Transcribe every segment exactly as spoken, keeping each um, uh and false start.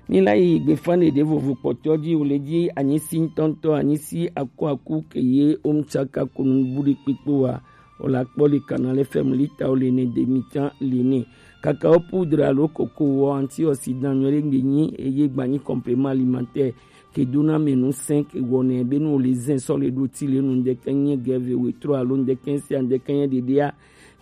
Mi la yi gbefa ɖeɖe vovo kpɔtɔ ji, wo le ji anyisi ŋutɔŋutɔ, anyisi aku aku ke ye omtsaka kunu buɖi kpikpo wa. O la kpɔ le Canal F M lita o le ne demi tan le ne. Kaka o poudre alo koko wɔ antioxydant nyɔ ɖe gbe nyi eye gba nyi complément alimentaire ke dona mɛ nu sɛn ke wɔ nɛ be nu o le zɛn sɔ le ɖo ti le nu ŋdɛkɛ nye gɛve wetrɔ alo ŋdɛkɛ sia ŋdɛkɛ nye ɖeɖea.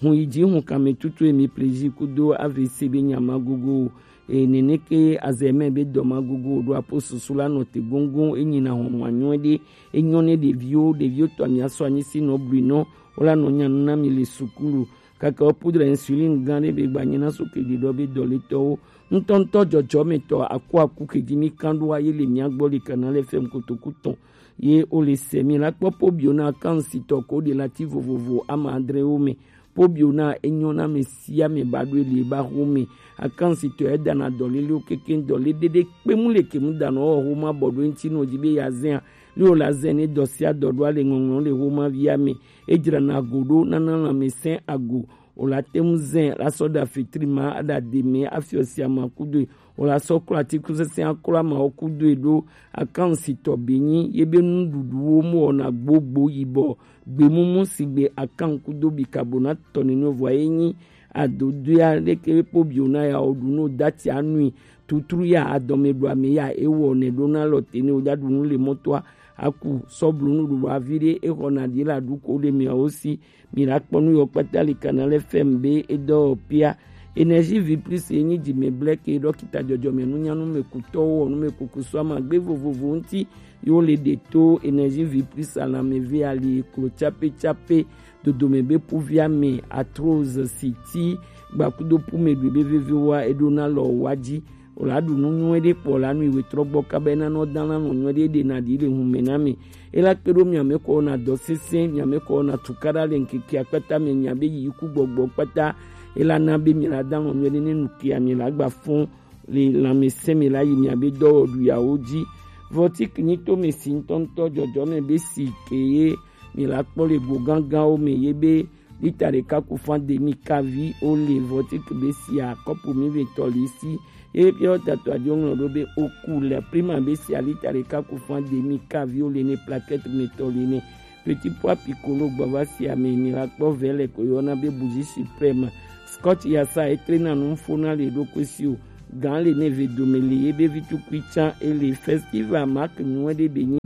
Hun yi ji hun kame tutu emi plaisir kudo A V C be nyama gogo. E nene ke azɛ mɛ be dɔma gogo ɖo apo susu la nɔ te gongon, e nyina hɔn ma nyɔ ɖe, e nyɔ ne ɖeviwo, ɖeviwo tɔ mi asɔ anyi si nɔ blui nɔ, o la nɔ nya nu na mi le sukulu. Kaka o poudre insuline gan ɖe be gba nyi na so ke ɖi ɖɔ be dɔletɔwo. Ŋutɔŋutɔ jɔjɔmetɔ aku aku ke ji mi kan ɖo aye le mia gbɔ le Canal F M kotoku tɔn. Ye o le se mi la kpɔ po bio na kan si tɔ ko de la ti vovovo ama adre wo me. Po bio na enyo na me si ame ba ɖo le ba ho me. Akan si tɔ e da na dɔ le le o keke dɔ le dede kpe mu le ke mu da no ho ma bɔ ɖo ŋti no ji be ya zɛn a. Le o la zɛn ne dɔ si a dɔ ɖo a le ŋɔŋlɔ le ho ma vi ame. E dzra na go ɖo na na la me sɛn ago. O la te ŋu zɛn la sɔ ɖa fitri ma aɖa de mɛ afiɔ sia ma kudo e. O la sɔ klɔ atikusɛsɛ aklɔ amawo kudo e ɖo akan si tɔ be nyi ye be nuɖuɖuwo mu wɔna gbogbo yibɔ gbemumu si gbe akan kudo bikabonate tɔ nene vɔ ye nyi adodoea ɖeke be po bio na ya o ɖu no dati anui tutru ya adɔme ɖu ame ya ewɔ ne ɖo na lɔ te ne o ja ɖu nu le mɔtoa aku sɔ blu nuɖuɖu avi ɖe exɔ na ɖi la ɖu ko le miawo si. Mi la kpɔ nu yɔ kpata le Canal F M be edɔ pia. Énergie Vie Plus ye nyi dzime blɛ ke ɖɔkita dzɔdzɔme nunyanu me kutɔwo wɔ nu me kuku sɔ ama gbe vovovo ŋti yo le ɖe to Énergie Vie Plus alame ve ali klo tsape tsape dodome be puvia me arthrose siti gbakudo pume ɖu be vevewa eɖo na lɔ wa ji. O la ɖu nu nyuie ɖe kpɔ la nui wetrɔ gbɔ kaba ena nɔ dan la nɔ nyuie ɖe ɖe na ɖi le hun me na me. E la kpe ɖo mia me kɔ na dɔ sese mia me kɔ na tukaɖa le ŋkeke akpata me mia be yi ku gbɔgbɔ kpata. E la na be mi la dan nɔ nyuie ɖe ne nu kia mi la gba fɔn le lãmesẽ me la yi mia be dɔwɔɖu yawo ji. Vɔtik nyi to me si ŋutɔŋutɔ jɔjɔ me be si ke ye mi la kpɔ le go gánganwo me ye be lita ɖeka ku fan demi kavi o le vɔtik be sia kɔpu mi ve tɔ li si. Ye be piɔ tato adio ŋlɔ ɖo be oku le prima be sia lita ɖeka ku fan demi kavi o le ne plaquette me tɔ li ne. Petit pois piccolo gbɔ va sia me mi la kpɔ vɛ le ko yɔna be bougie suprême. Scotch ya sa etre na nu fo na le ɖo ko si o. Gan le ne ve dome le ye be vitukui tsan e le festival mark nyuie ɖe be nyi.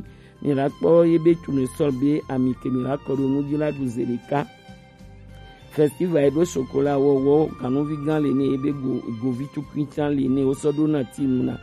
Mi la kpɔ ye be tournesol be ami ke mi la kɔ ɖo nu dzi la ɖu ze ɖeka. Festival e ɖo chocolat wɔwɔ ganuvi gan le ne ye be go govi tukui tsan le ne wo sɔ ɖo na ti nu na.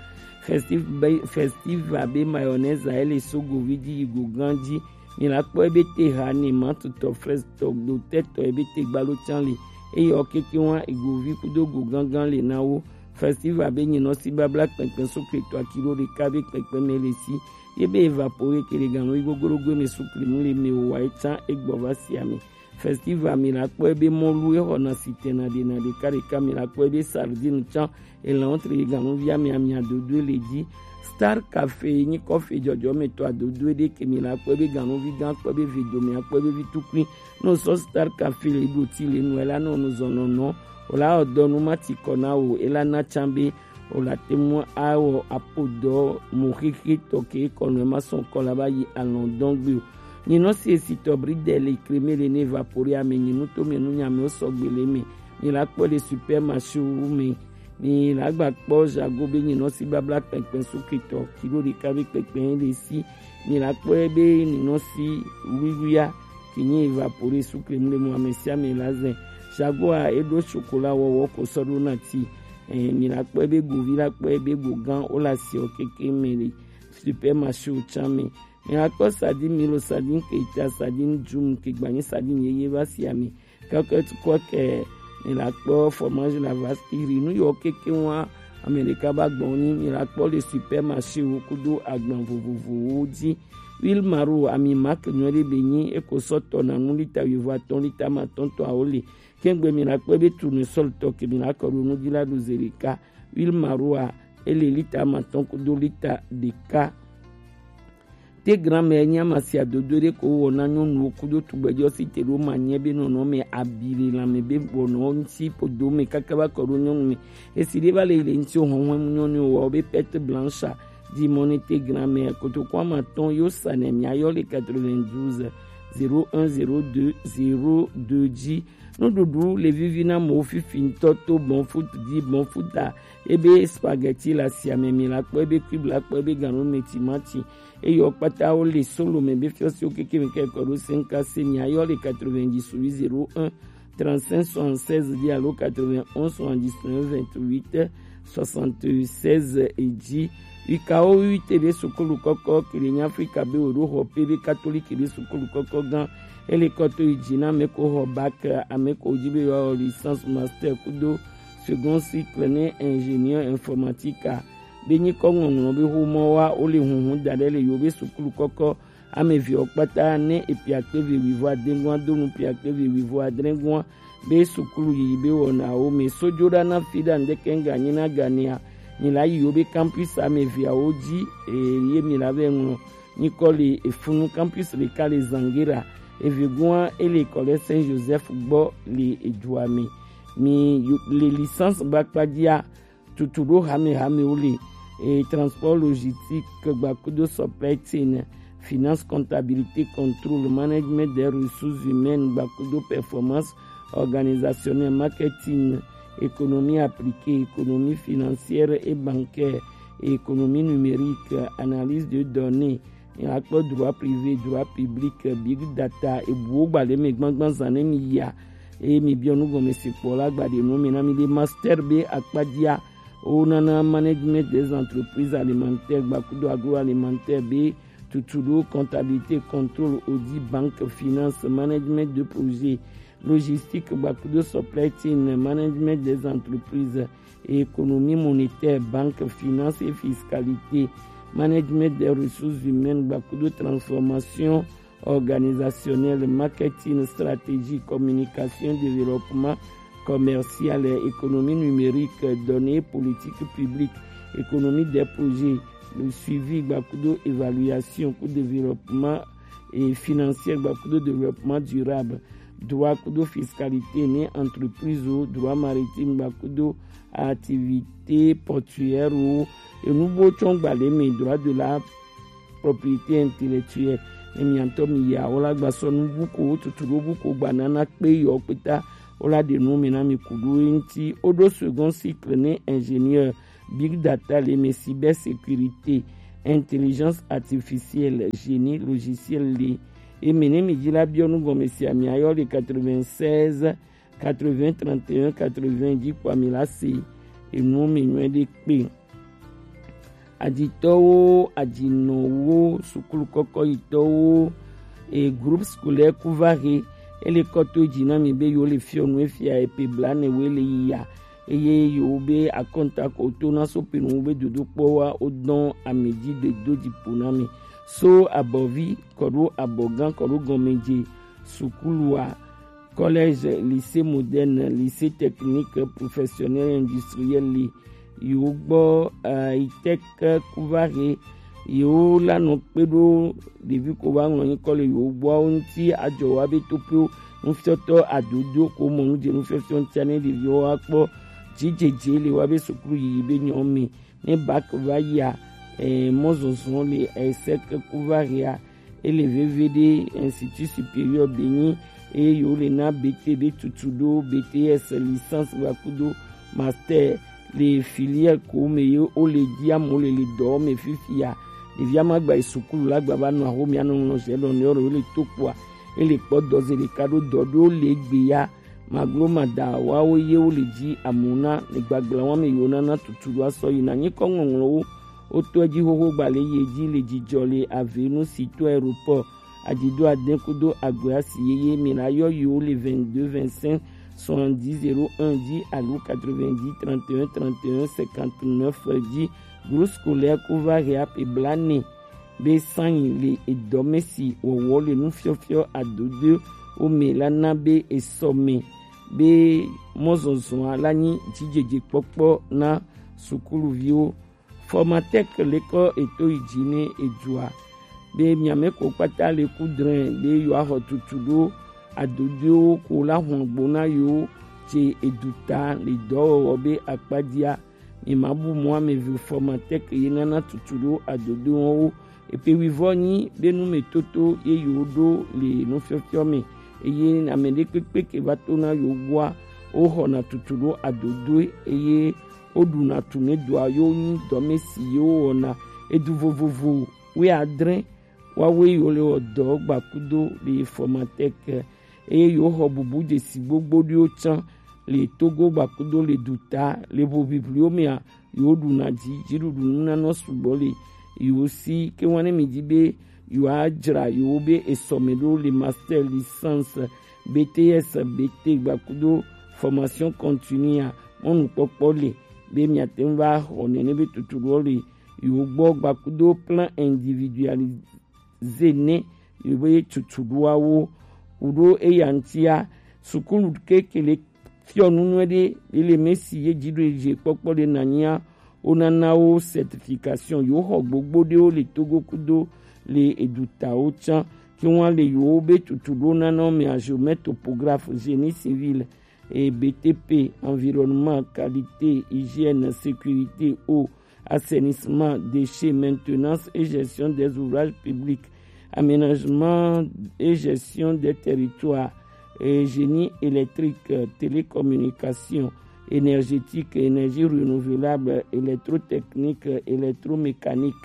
Festival be festival be mayonnaise e le so govi dzi yi go gan dzi. Mi la kpɔ ye be te ha ne mantutɔ frestɔ dotɛtɔ ye be te gbalo tsan le. Eye ɔ keke wa egovi kudo go gangan le na wo. Festival be nyinɔ si babla kpɛnkpɛn sukle to akilo ɖeka be kpɛnkpɛn me le si. Ye be evapore ke le ganu yi gogorogo me sukle mu le me o wa etsan egbɔ va si ame. Festival mi la kpɔ ye be mɔlu e xɔ na si tɛna ɖe na ɖeka ɖeka mi la kpɔ ye be sardine tsan elan tre ye ganu vi ame ame adodo le dzi. Star Cafe nyi kɔfe jɔjɔmetɔ adodo ɖe ke mi la kpɔ ye be ganuvi gan kpɔ ye be vedome akpɔ ye be vitukui. Ne wosɔ Star Cafe le ɖo ti le nu ela ne wonu zɔnɔnɔ o la wɔ dɔ nu ma ti kɔ na wo ela na tsan be o la te mu awɔ apo dɔ mo xexe tɔ ke kɔ nu ema sɔn kɔ la ba yi alɔn dɔn gbe o. Nyinɔ si esi tɔ bri de le kreme le ne vapori ame nyinu to me nu nyame o sɔgbe le me. Mi la kpɔ le supermarché wu me. Mi la gba kpɔ jago be nyinɔ si babla kpɛkpɛ suketɔ kilo ɖeka be kpɛkpɛ le si. Mi la kpɔ be nyinɔ si wiwia ke nye evapore sukle mu le mo ame sia ame la zɛ. Jagoa eɖo chocolat wɔwɔ ko sɔ ɖo na ti. Eh, mi la kpɔ be govi la kpɔ be go gan o la si o keke me le supermarché o tsan me. Mi la kpɔ sardine milo sardine ke ta sardine djum ke gba nyi sardine yeye va si ame. Kaka tukɔ ke mi la kpɔ fromage la va si ri nu yɔ keke wa ame ɖeka ba gbɔ nyi mi la kpɔ le supermarché wo kudo agban vovovowo dzi. Huile maro ami marque nyuie ɖe be nyi eko sɔ tɔ na nu lita wuivo atɔ̃ lita ma tɔ̃ tɔ awo le. Kengbe mi la kpɔ be tournesol tɔ ke mi la kɔ ɖo nu dzi la ɖo ze ɖeka. Huile maro a ele lita ma tɔ̃ kudo lita ɖeka. Te grand-mère nya masia dodo ɖe ko wɔ na nyɔnuwo kudo tugbɛjɔ si te ɖo ma nyɛ be nɔnɔ mɛ abi le lanmɛ be bɔnɔ ŋuti podo mɛ kaka va kɔ ɖo nyɔnu mɛ. Esi ɖe va le yi le ŋuti o hɔnhɔn mu nyɔnu wɔ be perte blanche a di mɔ ne te grand-mère kotoko ama tɔn yo sa nɛ mia yɔ le quatre-vingt-douze zéro un zéro deux zéro deux dzi. Nuɖuɖu le vivi na amewo fifi ŋutɔ to bon foot di bon foot a. Ebe spaghetti le asia me, mi la kpɔ, ebe cube la kpɔ, ebe ganu me timati. Eyɔ kpata wo le solo me be fiɔsiwo keke me kɔ ɖo cinq K C, mi ayɔ le quatre-vingt-dix-huit zéro un trente-cinq soixante-seize dzi alo quatre-vingt-onze soixante-dix-neuf vingt-huit soixante-seize dzi. Wikawo wi te be sukulu kɔkɔ kele nya Afrika be wo ɖo xɔ pe be katoliki be sukulu kɔkɔ gan. Ele kɔ to yi dzi na ame ko xɔ bac, ame ko dzi be yewoawɔ licence, master kudo second cycle ne ingénieur informatique a. Be nyikɔ ŋɔŋlɔ be xomɔ wa wo le hunhun da ɖe le yewo be sukulu kɔkɔ ame eveawo kpata ne epiakpe ve wuivo ade gɔn do nu piakpe ve wuivo adre gɔn be sukulu yiyi be wɔnawo me sojo ɖa na fi ɖa ŋdeke ŋga nyi na ganea. Mi la yi yewo be campus ame eveawo dzi eye mi la vɛ ŋlɔ nyikɔ le efunu campus ɖeka le Zangera. Evegoa ele kɔ ɖe Saint Joseph gbɔ le edua me. Mi yo- le licence ba kpadzia tutu ɖo hame hamewo le e transport logistique gbakudo supply chain, finance, comptabilité, contrôle, management des ressources humaines gbakudo performance organisationnelle, marketing, économie appliquée, économie financière et bancaire, économie numérique, analyse de données, mi la kpɔ droit privé, droit public, big data, ebuwo gba le me gbangban zan ne mi yia. Eye mi biɔ nu gɔme se kpɔ la gba ɖe nu me na mi ɖe master be akpadzia. Wo nana management des entreprises alimentaires gbakudo agroalimentaire be tutu ɖo comptabilité, contrôle, audit, banque, finance, management de projet, logistique gbakudo supply chain, management des entreprises, économie monétaire, banque, finance et fiscalité, management des ressources humaines gbakudo transformation organisationnelle, marketing, stratégie, communication, développement commercial, économie numérique, données, politique publique, économie des projets, le suivi gbakudo évaluation ku développement et financier gbakudo développement durable, droit kudo fiscalité ne entreprise o, droit maritime gbakudo activité portuaire o, enu bo tsɔ gba le me, droit de la propriété intellectuelle. Ne miantɔ mi ya wo la gba sɔ nu bu ko tutu ɖo bu ko gba nana kpe yɔ kpeta wo la ɖe nu me na mi ku ɖo eŋti. Wo ɖo second cycle ne ingénieur, big data le me, cyber sécurité, intelligence artificielle, génie logiciel le. Eme ne mi dzi la biɔ nu gɔme sia mi ayɔ le quatre-vingt-seize quatre-vingts trente et un quatre-vingts dzi kpɔ mi la se enu me nyuie ɖe kpe. Aditɔwo, adinɔwo, sukulu kɔkɔyitɔwo, e groupe scolaire Kuvare, ele kɔ to dzi na mi be yewo le fiɔ nu efia epe bla ne wo le yi ya. Eye yewo be akɔnta ko to na so pe nu be dodokpɔ wa wo dɔn ame dzi de do dzi po na mi. So abɔvi kɔ ɖo abɔgã kɔ ɖo gɔmedze sukulu a, collège, lycée moderne, lycée technique professionnel industriel li, yewo gbɔ, eh, ITEC Kuvare, yewo la nɔ kpe ɖo ɖevi ko va ŋlɔ nyikɔ le yewo gbɔawo ŋuti adzɔ wa be toƒewo nufiɔtɔ adodo ko mɔ nu dze nufiɔfiɔ ŋutia ne ɖeviwo wa kpɔ dzidzedze le wa be sukulu yiyi be nyɔ me. Ne bac va yia, eh, mɔzɔzɔ le, eh, ITEC Kuvare a, ele veve ɖe Institut Supérieur Benin, eye yewo le na B T ɖe tutu ɖo B T S, licence gbakudo master le filière ko me ye wo le dzi amewo le le dɔ me fifia. Ɖevia ma gba yi sukulu la gba va nɔ axomea nɔ ŋlɔ zɛ ɖɔ ne yewo le to kpoa, ele kpɔ dɔze ɖeka ɖo dɔ ɖo le gbe ya. Maglo mada wawo ye wo le dzi amuna le gbagla wa me yewo nana tutu ɖo asɔ yi na nyikɔ ŋɔŋlɔwo. Wotɔ edzi xoxo gba le ye dzi le dzidzɔ le ave nu si to aéroport. Adzido ade kudo agbe asi yeye mi la yɔ yi wo le vingt-deux vingt-cinq soixante-dix zéro un dzi alo quatre-vingt-dix trente et un trente et un cinquante-neuf dzi. Groupe scolaire Kuvare a pe bla ne be sanyi le edɔme si wɔwɔ le nufiɔfiɔ adodo wo me la na be esɔ me be mɔzɔzɔa la nyi dzidzedzekpɔkpɔ na sukuluviwo. Formatec lekɔ eto yi dzi ne edua. be miame ko kpata le ku drɛn be yewoaxɔ tutu ɖo adodoewo ko la hɔn gbo na yewo ce eduta le dɔwɔwɔ be akpadia. Mi ma bu mɔ ame vi Formatec ye nana tutu ɖo adodoewo. Epe wivɔ nyi be nu me toto ye yewo ɖo le nufiɔfiɔ me. Eye ame ɖekpekpe ke va to na yewo gbɔa, woxɔna tutu ɖo adodoe eye woɖuna tu ne doa yewo nyi dɔme si yewo wɔna. Edu vovovo wuiadre wawoe yewo le wɔ dɔ gbakudo le Formatec eye yewo xɔ bubu dzesi gbogbo ɖiwo tsã le Togo gbakudo le duta le ʋoʋiʋliwo mea yewo ɖuna dzi dziɖuɖu nunanɔ sugbɔ le yewo si ke wane mi dzi be yewoadzra yewo be esɔme ɖo le master, licence, B T S, B T gbakudo formation continue a mɔnukpɔkpɔ le be miate ŋu va xɔ nene be tutu ɖo le yewo gbɔ gbakudo plan individualisé ne yewo be tutu ɖoawo. Kuɖo eya ŋutia, sukulu keke le fiɔ nu nyuie ɖe, ele me si ye dziɖuɖu kpɔkpɔ ɖe nanyia, wonana wo certification. Yewo xɔ gbogbo ɖewo le Togo kudo le edutawo tsã. Ke wan le yewo be tutu ɖo nana wo mea, géomètre topographe, génie civil, et B T P, environnement, qualité, hygiène, sécurité, eau, assainissement, déchets, maintenance et gestion des ouvrages publics, aménagement et gestion des territoires, et génie électrique, télécommunication, énergétique, énergie renouvelable, électrotechnique, électromécanique,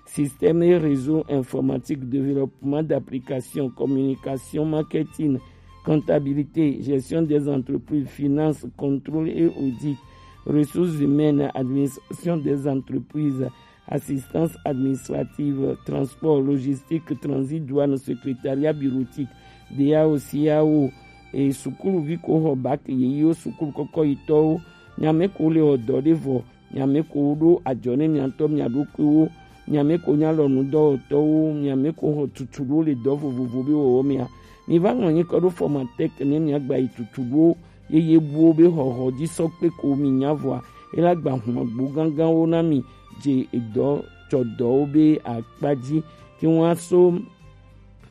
système et réseau informatique, développement d'applications, communication, marketing, comptabilité, gestion des entreprises, finances, contrôle et audit, ressources humaines, administration des entreprises, assistance administrative, transport, logistique, transit, douane, secrétariat bureautique, D A O, C A O, et sukuluvi ko xɔ bac yeyewo, sukulu kɔkɔyitɔwo, nyame ko le wɔ dɔ ɖe vɔ, miame ko ɖo ajɔ ne mia ŋutɔ mia ɖokuiwo, miame ko nye alɔnudɔwɔtɔwo, miame ko xɔ tutu ɖo le dɔ vovovo be wɔwɔ mea. Mi va ŋlɔ nyikɔ ɖo Formatec ne mia gba yi tutu ɖo yeye buwo be xɔxɔ dzi sɔ kpe ko mi nya vɔa, ela gba hlɔn agbo ganganwo na mi dze edɔ tsɔ dɔwo be akpa dzi ke ŋua so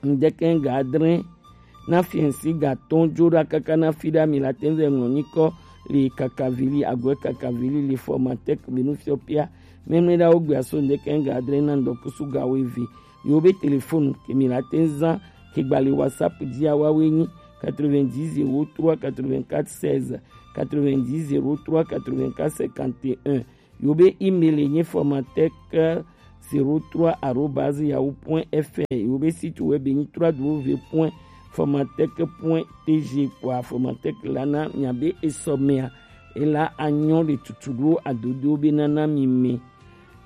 ŋdeke ga adre na fiɛnsi ga tɔn dzo ɖa kaka na fi ɖa mi la te ŋu vɛ ŋlɔ nyikɔ le kakavili agɔe kakavili le Formatec be nu fiɔ pia mɛmlɛ ɖa wo gbe aso ŋdeke ga adre na ŋdɔkusu ga wo eve. Yewo be telefonu ke mi la te ŋu zan ke gba le WhatsApp dzi awa we nyi quatre-vingt-dix zéro trois quatre-vingt-quatre seize, quatre-vingt-dix zéro trois quatre-vingt-quatre cinquante et un. Yewo be email ye nye Formatec zéro trois arobase yahoo point F R. Yewo be site web ye nye trois W point formatec point T G. Kpoa Formatec la na mia be esɔ mea, ela anyɔ le tutu ɖo adodo be nana mi me.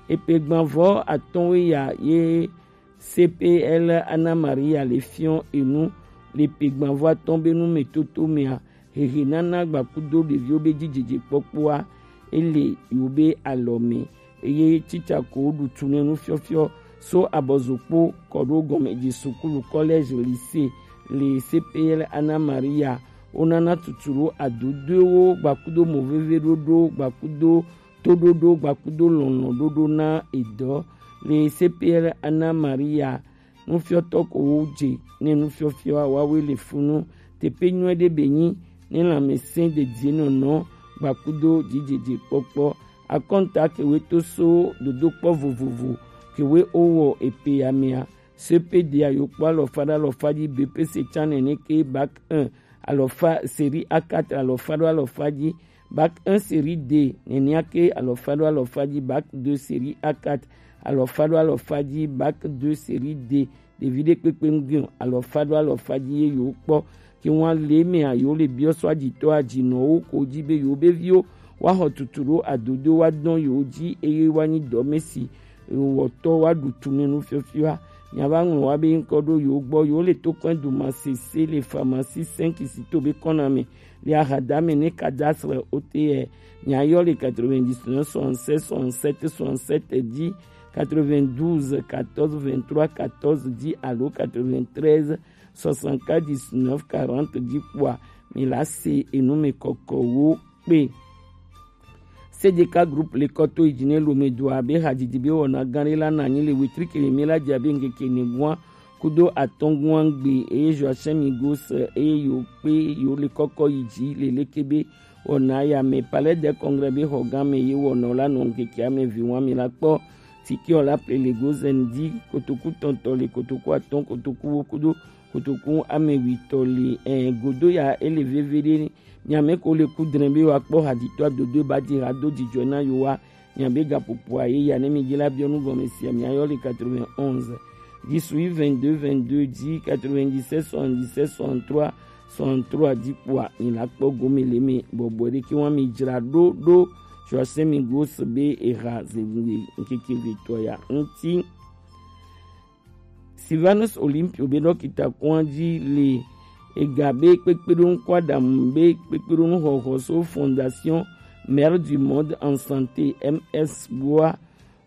Epe gbanvɔ atɔ̃ we ya ye C P L Ana Maria le fiɔ enu le pe gbanvɔ atɔ̃ be nu me toto mea, hehe nana gbakudo ɖeviwo be dzidzedze kpɔkpɔa, ele yewo be alɔ me. Eye tsitsa ko ɖu tu ne nufiɔfiɔ so abɔzokpo kɔ ɖo gɔmedzi sukulu, collège, lycée, le C P L Ana Maria. Wonana tutu ɖo adodoewo gbakudo mo veve ɖoɖo gbakudo toɖoɖo gbakudo lɔlɔ̃ ɖoɖo na edɔ le C P L Ana Maria. Nufiɔtɔ ko wo dze ne nufiɔfiɔ wawe le funu. Teƒe nyuie ɖe be nyi ne lãmesẽ dedienɔnɔ gbakudo dzidzedze kpɔkpɔ. Akɔnta kewe to so dodokpɔ vovovo kewe owɔ epe amea. C P D a yo kpɔ alɔfa ɖe alɔfa dzi, B P C tsã nene ke, bac un alɔfa, série A quatre alɔfa ɖo alɔfa dzi, bac un série D nenia ke alɔfa ɖo alɔfa dzi, bac deux série A quatre alɔfa ɖo alɔfa dzi, bac deux série D, ɖevi ɖe kpekpe ŋgui o, alɔfa ɖo alɔfa dzi ye yewo kpɔ. Ke ŋua le mea yewo le biɔ so adzitɔ adzinɔwo ko dzi be yewo be viwo woaxɔ tutu ɖo adodo woadɔ yewo dzi eye woanyi dɔme si wɔtɔ woaɖu tu ne nufiɔfiɔa. Miava ŋlɔ wa be ŋkɔ ɖo yewo gbɔ. Yewo le tokpɛn du masese le pharmacie cinq si to be kɔna me le ahadame ne cadastre O T R. Miayɔ le quatre-vingt-dix-neuf soixante-seize soixante-sept soixante-sept dzi, quatre-vingt-douze quatorze vingt-trois quatorze dzi alo quatre-vingt-treize soixante-quatre dix-neuf quarante dzi kpoa mi la se enu me kɔkɔwo kpe. C D K Group le kɔ to yi ji ne Lome do abe hajiji be wɔna gan ɖe la na anyi le wetri kele mi la dzi abe ŋkeke enegoa kudo atɔgoa gbe eye Joachim Migos eye yewo kpe yewo le kɔkɔ yi ji le leke be wɔna ya me. Palais de Congrès be xɔgan me ye wɔna la nɔ ŋkeke ame vi wa mi la kpɔ. Tiki ɔ la ple le gozen di kotoku tɔntɔ le kotoku atɔn kotoku wo kudo kotoku ame witɔ le ɛ godo ya ele veve ɖe. Miame ko le ku dre be wa kpɔ haditɔ dodo ba di ha do jijɔ na yo wa. Miabe gapopo a ye ya ne mi jela biɔ nu gɔme sia mi ayɔ le quatre-vingt-onze dix-huit vingt-deux vingt-deux dix quatre-vingt-dix-sept soixante-dix-sept soixante-trois soixante-trois di kpoa mi la kpɔ gome le me bɔbɔ ɖe ke wa mi jra ɖo ɖo. Joachim Migos be eha zewu ŋkeke vetɔ ya ŋti. Sylvanus Olympio be dɔkita kɔn dzi le ega be kpekpeɖonu kɔ aɖamu be kpekpeɖonu xɔxɔ so Fondation Mère du Monde en Santé, M S gbɔa.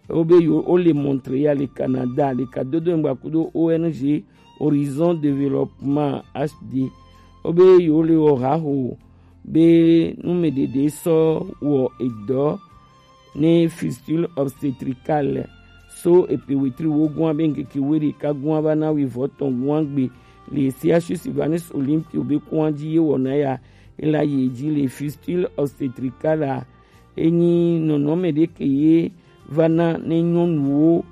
Wo be yo wo le Montréal le Canada le ka dodo ŋgba kudo O N G Horizon Développement H D. Wo be yo le wɔ haho be numeɖeɖe sɔ wɔ edɔ ne fistule obstétricale so epe wetri wo gua be ŋkeke we ɖeka gua va na wi vɔ tɔn gua gbe le C H U Sylvanus Olympio be kua dzi ye wɔna ya ela ye dzi le fistule obstétricale a enyi nɔnɔme ɖe ke ye va na ne nyɔnuwo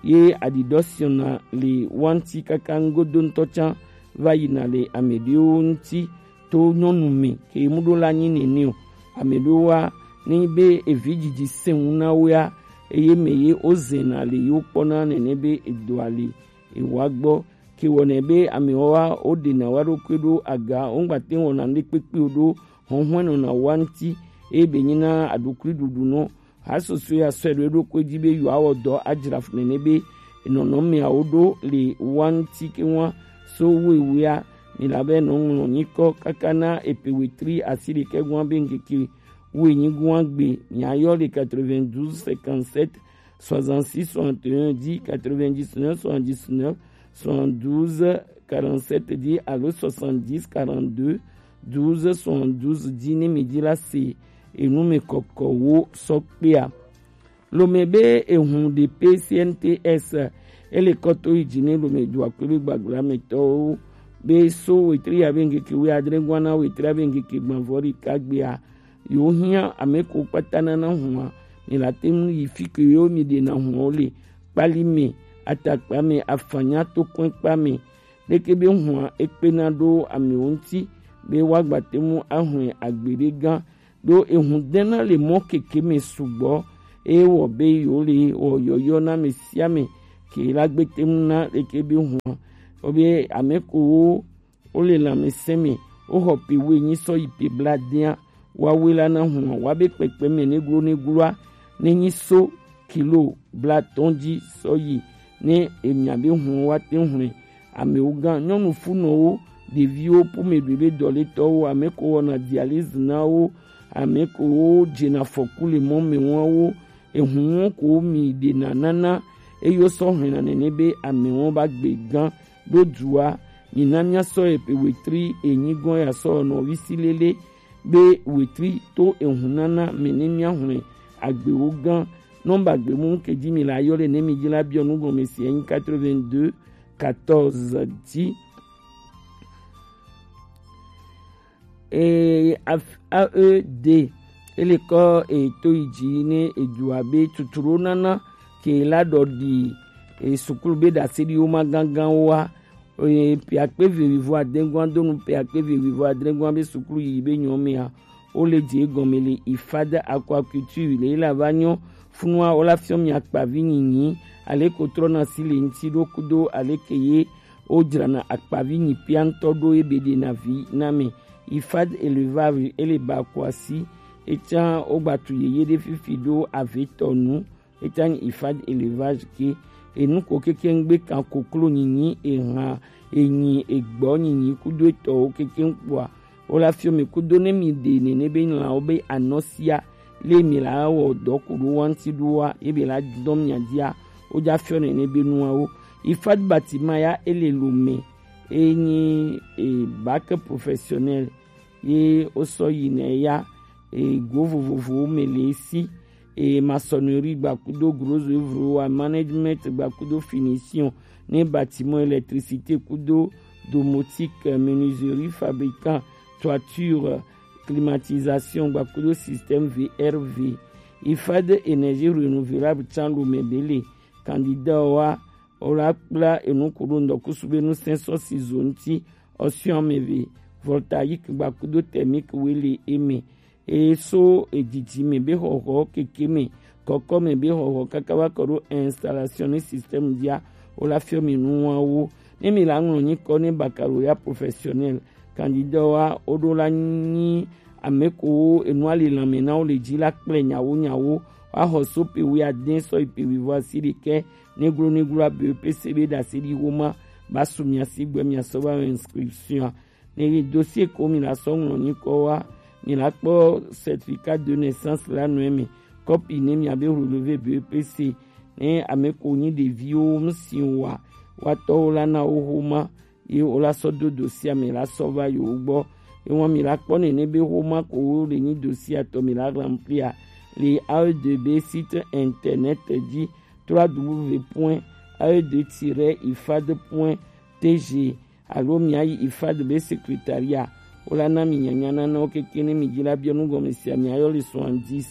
ye aɖiɖɔ siɔna le wa ŋti kaka ŋgodo ŋtɔ tsã va yina le ame ɖewo ŋti to nyɔnu me ke mu ɖo la nyi nene o. Ame ɖewo wa ne be evi dzidzi sɛŋu na wo ya eye me ye wo zena le yewo kpɔna nene be edoa le ewa gbɔ ke wɔnɛ be amewo wa wo ɖena wa ɖokui ɖo aga wo ŋgba te wɔna ŋɖe kpekpe ɖo hɔnhɔn nɔna wa ŋti eye be nyina aɖukui ɖuɖu nɔ Hasoso ya sɔe ɖo eɖokui dzi be yewoawɔ dɔ adzra fu nene be nɔnɔmeawo ɖo le wa ŋti ke wa so wewea mi la be nɔŋlɔ nyikɔ kaka na epe wetri asi ɖekɛ gua be ŋkeke wenyi gua gbe miayɔ le quatre-vingt-douze cinquante-sept soixante-six soixante et un dix quatre-vingt-dix-neuf soixante-dix-neuf soixante-douze quarante-sept dix alo soixante-dix quarante-deux douze soixante-douze dzi ne mi dzi la se enu me kɔkɔwo sɔ kpea. Lome be ehun ɖe pe C N T S ele kɔ to yi dzi ne Lome do akpe be gbagla me tɔwo be so wetri ya be ŋkeke we adre gua na wetri ya be ŋkeke gbavɔ ɖeka gbea yewo hiã ame ko kpata nana hua mi la te ŋu yi fi ke yewo mi ɖena hua wo le kpali me atakpa me afanya to kɔe kpa me leke be hua ekpena ɖo amewo ŋti be woagba te ŋu ahɔe agbeɖe gã ɖo ehun dena le mɔ keke me sugbɔ eye wɔ be yewo le wɔ yɔyɔ na me sia me ke la gbe te ŋu na leke be hua wo be ame ko wo wo le lãmesẽ me, woxɔ pe woenyi sɔ yi pe blaadea, woawoe la na hũa, woabe kpekpe me neglo negloa nenyi so kilo blaatɔ̃ dzi sɔ yi ne emia be hũwo woate ŋu hlẽ. Amewo gã, nyɔnu funɔwo, ɖeviwo, ƒome ɖoe be dɔlétɔwo, ame ko wɔna dialyse na wo, ame ko wo dzena afɔku le mɔ me wɔn wo, Ehun wɔn ko mi ɖena nana, eye wosɔ hlɛna nɛnɛ be amɛwo ba gbe gan ɖo dua. Mina miasɔ epe wetri enyi gɔn ya sɔ nɔvi si lele be wetri to ehun nana mɛ ne miahlɛ agbewo gan. Nɔmba gbe mu ke ji mi la yɔ le ne mi ji la biɔ nu gɔme si enyi quatre-vingt-deux quatorze dix. E, af-, A E D, ele kɔ eto yi ji ne edu abe tuturo nana ke la dɔ di, e, sukulu be dase di wo ma gangan wa. E, pe akpe ve wivo adengua donu pe akpe ve wivo adengua be sukulu yi be nyɔ mea, wo le je gɔme le ifad aquaculture le la va nyɔ funua wo la fiɔ mi akpavi nyinyi ale ko trɔ na si le ŋti ɖo kudo ale ke ye wo dzrana akpavi nyi pia ŋutɔ ɖo ye be ɖena vi na mɛ. Ifad élevage ele ba ko asi. Etsã wo gba tu yeye ɖe fifi ɖo avetɔ nu. Etsã nyi ifad élevage ke. Enu ko kekeŋ gbe kan koklo nyinyi, eha, enyi, egbɔ nyinyi kudo etɔwo kekeŋ kpoa, wo la fiɔ mi kudo ne mi ɖe nene be lãwo be anɔsia le mi la wɔ dɔ ku ɖo wa ŋti ɖoa, ye be la dɔ mia dia, wo ja fiɔ nene be nuawo. Ifad Batima ya ele lo me, e nyi, e, bac professionnel, ye wo sɔ yi ne ya, ego vovovowo me le esi. E maçonnerie gba kudo gros œuvre wa, management gba kudo finition ne bâtiment, électricité kudo domotique, menuiserie, fabricant, toiture, climatisation gba kudo système V R V. Ifad énergie renouvelable tsan lo me bele. Candidat wa o la kpla enu kudo ndɔkusu be nu sɛnsɔ si zo ŋuti, ɔsiɔn me ve, voltaïque gba kudo thermique wele eme. E so edidi me be xɔxɔ keke me, kɔkɔ me be xɔxɔ kaka va kɔ ɖo installation ne système dia, o la fiɔ mi nuwawo. Ne mi la ŋlɔ nyikɔ ne baccalauréat professionnel, candidat wa o ɖo la nyi ame ko enu ali lanme na wo le dzi la kple nyawo nyawo. Wa xɔ so pe wi aden sɔ yi pe wi vɔ asi ɖekɛ, neglo neglo abe pe se be ɖase ɖi wo ma ba su mia si gbɛ mia sɔ va inscription. Ne yi dossier ko mi la sɔ ŋlɔ nyikɔ wa, mi la kpɔ certificat de naissance la nɔ eme, kɔpi ne mia be relevé B E P C. Ne ame ko nyi ɖeviwo ŋsi wa, wa tɔwo la na wo xoma, ye wo la sɔ do dossier me la sɔ va yo gbɔ. Ye wa mi la kpɔ nene be xoma ko wo le nyi dossier tɔ mi la remplir le A E D B site internet dzi, trois W point A E D tiret ifad point T G. Alo mia yi ifad be secrétariat, wo la na mi nyanya nanawo keke ne mi dzi la biɔ nu gɔme sia, mia yɔ le soixante-dix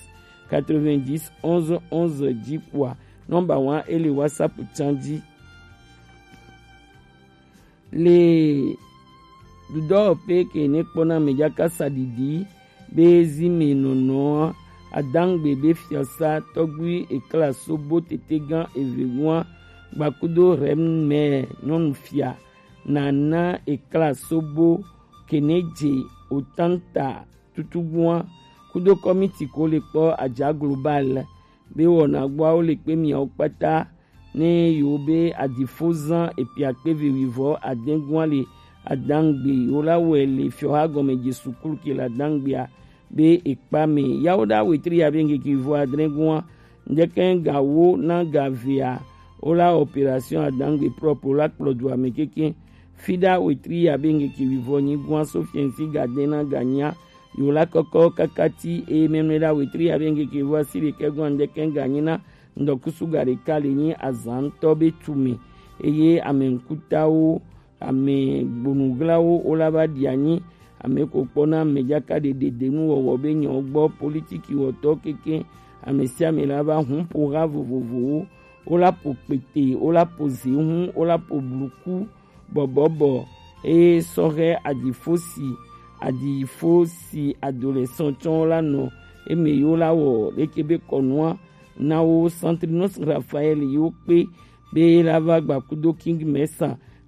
quatre-vingt-dix onze onze dzi kpoa, nɔmba wa e le WhatsApp tsan dzi. Le dudɔwɔƒe ke ne kpɔna amedzaka saɖiɖi be zi me nɔnɔa, adangbe be fiasa tɔgbui ekla sobo tetegã eve gua gbakudo rem me nyɔnu fia nana ekla sobo keneje otanta tutugua kudo kɔmiti ko le kpɔ adza global be wɔna gbɔawo le kpe miawo kpata ne yewo be adifozan epiakpe vewivɔ adengua le adangbe yewo la wɛ le fiɔha gɔme Jesu Kristo ke le adangbea be ekpa me. Yawo da wetri ya be ŋkeke vɔ adrengua ŋdeke ga wo na ga vea wo la opération adangbe propre wo la kplɔ du ame keke. Fida wetri ya be ŋkeke vivɔ nyigua so fiɛnsi ga de na ga nya yewo la kɔkɔ kakati eye mɛmlɛ da wetri ya be ŋkeke vɔ asi ɖekɛ gua ŋdeke ga nyi na ŋdɔkusu ga ɖeka le nyi azan ŋutɔ be tume eye ame ŋkutawo, ame gbonuglawo wo la va ɖi anyi ame ko kpɔna ame dzaka ɖeɖe denu wɔwɔ be nyawo gbɔ, politiki wɔtɔ keke, ame sia ame la va hun ƒo ha vovovowo, wo la ƒo kpete, wo la ƒo zehun, wo la ƒo bluku bɔbɔbɔ, eye sɔhɛ adifo si adifo si adolescent tsɔwo la nɔ eme yewo la wɔ leke be kɔnua na wo Centrinus Raphaël yewo kpe be la va gba kudo King Mesa